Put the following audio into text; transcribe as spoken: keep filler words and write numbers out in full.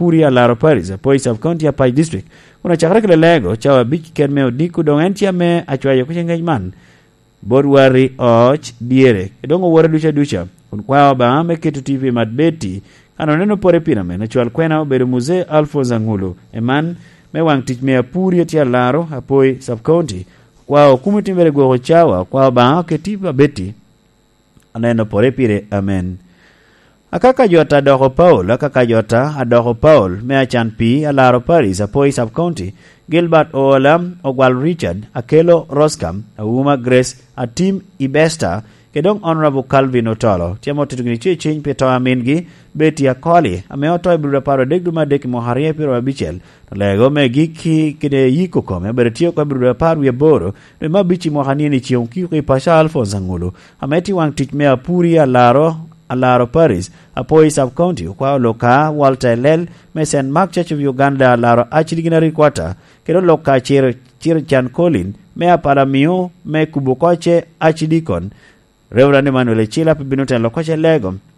Puri Alaro Paris, Apoi Sub County, Apac District, kun acakere kede lego cawa abic ket me odiko, doŋ en tye ame acwayo kuc angec man bot wari oc dyere, doŋ owote duca duca, kun kwao Obaŋa me keto T V mat Betty, kan oneno pore pira me nacwal kwena obedo Muzee Alphonse Angulu, eman me waŋ tic me Apuri tye Alaro, Apoi Sub County, kwao kumo timbere gwoko cawa, kwao Obaŋa oket T V mat Betty, aneno pore pire, amen. Akaka jota adoko Paul, akaka jota adoko Paul, me acan pi Alaro Paris, Apoi Sub County, Gilbert Oola, Ogwal Richard, Akelo Roscam, Auma Grace, Atim Ibesta, ke doŋ Honorable Calvin Otolo, tye ame otito gini tye ciny pi to a mingi, Betty Akoli, ame oto i Bruda Paro adek dwe me adek i mwaka aryo i pyero abicel, to lego me gikki kede yiko kome, obedo tye oko i Bruda Paro wie aboro, dwe me abic i mwaka nien i ceng okiko i paco Alphonse Angulu, ame tye waŋ tic me Apuri Alaro, Alaro Paris, Apoi Sub County, okwao Luka Walter Elel, me Saint Mark Church of Uganda, Alaro Archdeaconry Quarter, kede Luka Ciro, Ciro Can Colin, me Apalamio, me Kubo Koce Archdeacon, Reverend Emmanuel Ecila pe bino telo koce lego,